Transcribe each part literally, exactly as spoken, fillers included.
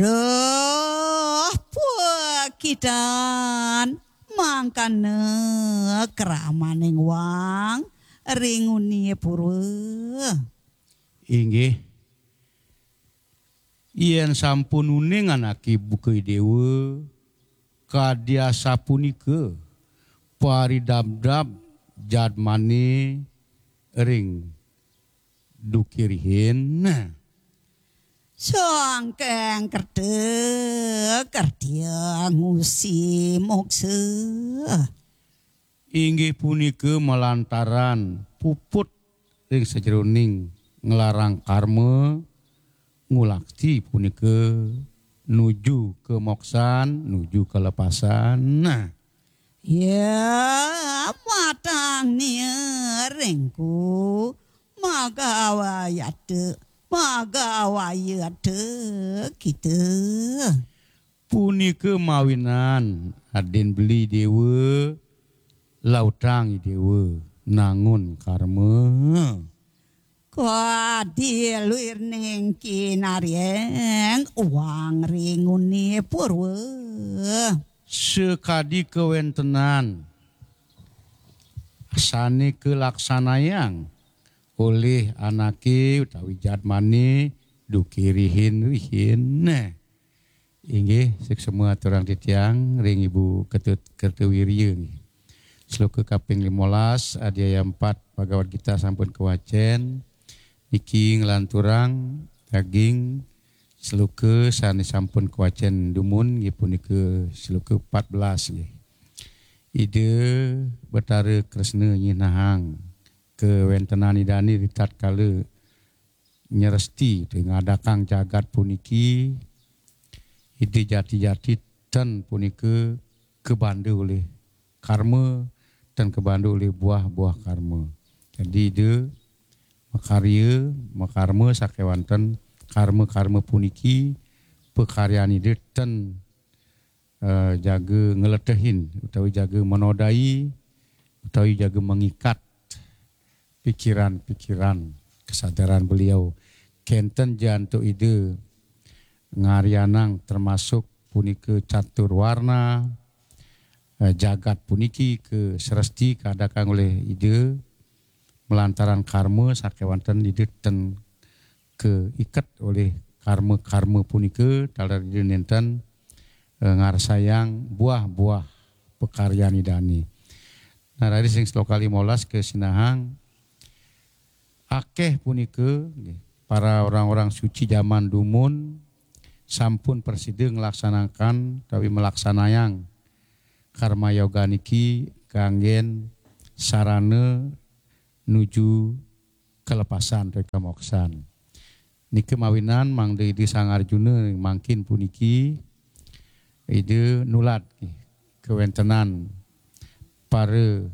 Duh, pukidan mangkana kramaning wang ring unia purwa. Inggih. Yen sampun uning anake buka Idewa, kadi asapunika paridabdab jadmane ring duke rihin. Sangkeng kerta kertia ngusi moksa. Inggih punika malantaran puput ring sajeroning nglarang karma, ngulakti punika nuju kamoksan, nuju kalepasan. Nah, ya, matang nia ringku, magawayata, magawayata kita. Punika mawinan adin beli Idewa, lautang Idewa, nangun karma. Kadi luirning kinarieng uang ring unia purwa. Sakadi kawentenan sane kalaksanayang olih anake utawi jadmane duke rihin-rihin. Nah, inggih, suksma aturang titiang ring Ibu Ketut Kertawirya nggih. Sloka kaping limolas, adiaya empat Bhagavad Gita sampun kawacen. Niki nglanturang daging sloka sane sampun kawacen dumun, nggih, punika sloka empat belas nggih. Ida Betara Kresna nyinahang kawentenan Idane ritatkala nyeresti, ngadakang jagat puniki, Ida jati-jati ten punika kabanda olih karma, ten kabanda olih buah-buah karma. Jadi Ida makarya, makarma sakewanten karma-karma puniki, pakaryan Ida ten eh, jaga ngletehin utawi jaga menodai utawi jaga mengikat pikiran-pikiran kesadaran beliau. Kenten ja antuk Ida ngaryanang termasuk punika catur warna, eh, jagat puniki ka sresti kadakang olih Ida malantaran karma sakewanten Ida ten kaiket olih karma-karma punika taler Ida nenten, eh, ngarsayang buah-buah pakaryan Idane. Nah, raris ring sloka limolas kasinahang, akeh punika nggih, para orang-orang suci jaman dumun sampun prasida nglaksanakan utawi melaksanayang karma yoga niki kanggen sarana nuju kalepasan utawi kamoksan. Nika mawinan mangda Ida Sang Arjuna mangkin puniki Ida nulad kawentenan para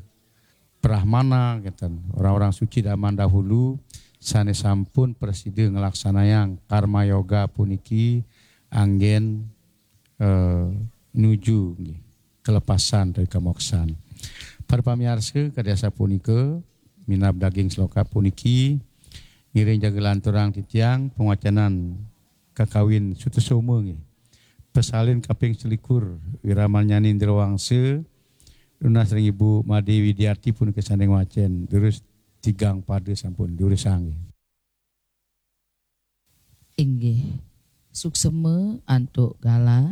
brahmana, ngeten, orang-orang suci zaman dahulu sane sampun prasida nglaksanayang karma yoga puniki anggen, eh, nuju nggih, kalepasan utawi kamoksan. Para pamiarsa, kadi asapunika minab daging sloka puniki ngiring jaga lanturang titiang pangwacanan kakawin Sutasoma nggih. Pasalin kaping selikur, Wiramarnyani Indrawangsa, nunas ring Ibu Made Widiati punika sane ngwacen, durus tigang pada sampun durusang nggih. Inggih. Suksema antuk galah.